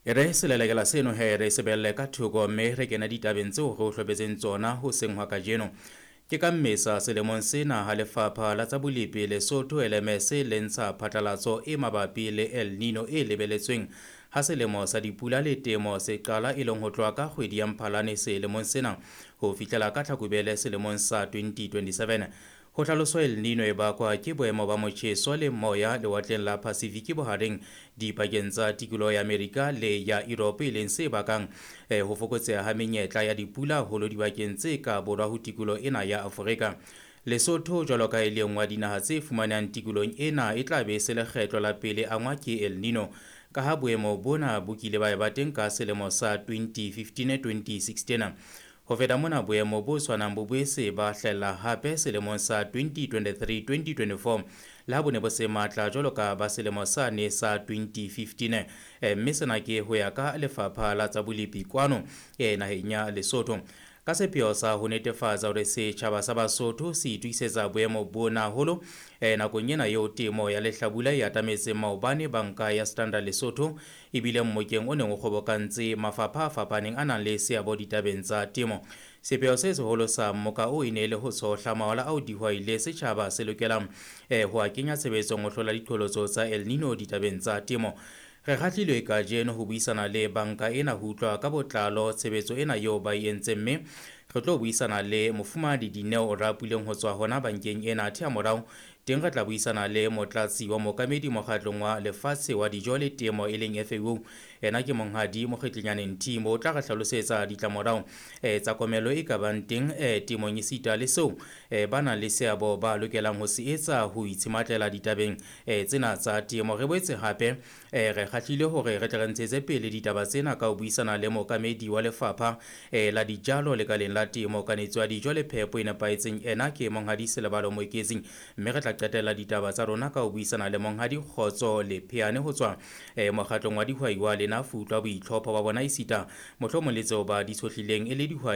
E re selelekela seno he re sebelle ka thoko mme re kena ditabeng tseo re o hlopetseng tsona hoseng hwa kajeno. Ke ka Mmesa selemong sena ha lefapha la tsa bolepi Lesotho LMS le ntsha phatlalatso e mabapi le El Nino e lebeletsweng ha selemo sa dipula le temo se qala, e leng ho tloha ka kgwedi ya Mphalane selemong sena ho fihlela ka Tlhakubele selemong sa 2027. Ho hlaloswa El Nino e bakwa ke boemo ba motjheso le moya lewatleng la Pacific bohareng dipakeng tsa tikoloho ya Amerika le ya Europe, e leng se bakang ho fokotseha ha menyetla ya dipula haholo dibakeng tse ka borwa ho tikoloho ena ya Afrika. Lesotho jwalo ka e le nngwe ya dinaha tse fumanehang tikolohong ena e tla be e se lekgetlo la pele angwa ke El Nino, ka ha boemo bona bo kile ba eba teng ka selemo sa 2015-2016. Ho feta mona, boemo bo tshwanang bo boetse ba hlahella hape selemong sa 2023-2024, le ha bo ne bo se matla jwalo ka ba selemo sane sa 2015. Mme sena ke ho ya ka lefapha la tsa bolepi kwano naheng ya Lesotho. Ka sepheo sa ho netefatsa hore setjhaba sa Basotho se itokisetsa boemo bona haholo nakong ena eo temo ya lehlabula e atametseng, maobane banka ya Standard Lesotho e bile mmokeng o neng o kgobokantse mafapha a fapaneng a nang le seabo ditabeng tsa temo. Sepheo se seholo sa mmoka o e ne e le ho tshohla mawala ao dihwai le setjhaba se lokelang ho a kenya tshebetsong ho hlola diqholotso tsa El Nino ditabeng tsa temo. Re kgahlilwe kajeno ho buisana le banka ena ho utlwa ka botlalo tshebetso ena eo ba e entseng, mme re tlo buisana le mofumahadi Dineo Rapuleng ho tswa hona bankeng ena. Athe ha morao teng re tla buisana le motlatsi wa mookamedi mokgatlong wa lefatshe wa dijo le temo e leng FAO, ena ke monghadi Mokgetlenyane Nthimo. O tla re hlalosetsa ditlamorao tsa komello e ka bang teng temong esita le seo ba nang le seabo ba lokelang ho se etsa ho itshematlela ditabeng tsena tsa temo. Re boetse hape re kgahlile hore re tle re ntshetse pele ditaba tsena ka ho buisana le mookamedi wa lefapha la dijalo lekaleng la temo, kanetso ya dijo le phepo e nepahetseng, ena ke monghadi Selebalo Moeketsing. Mme re tla qetella ditaba tsa rona ka ho buisana le monghadi Kgotso Lepheane ho tswa mokgatlong wa dihwai wa Lena Futlwa, boitlhopho ba bona esita mohlomong le tseo ba di tshohlileng e le dihwai.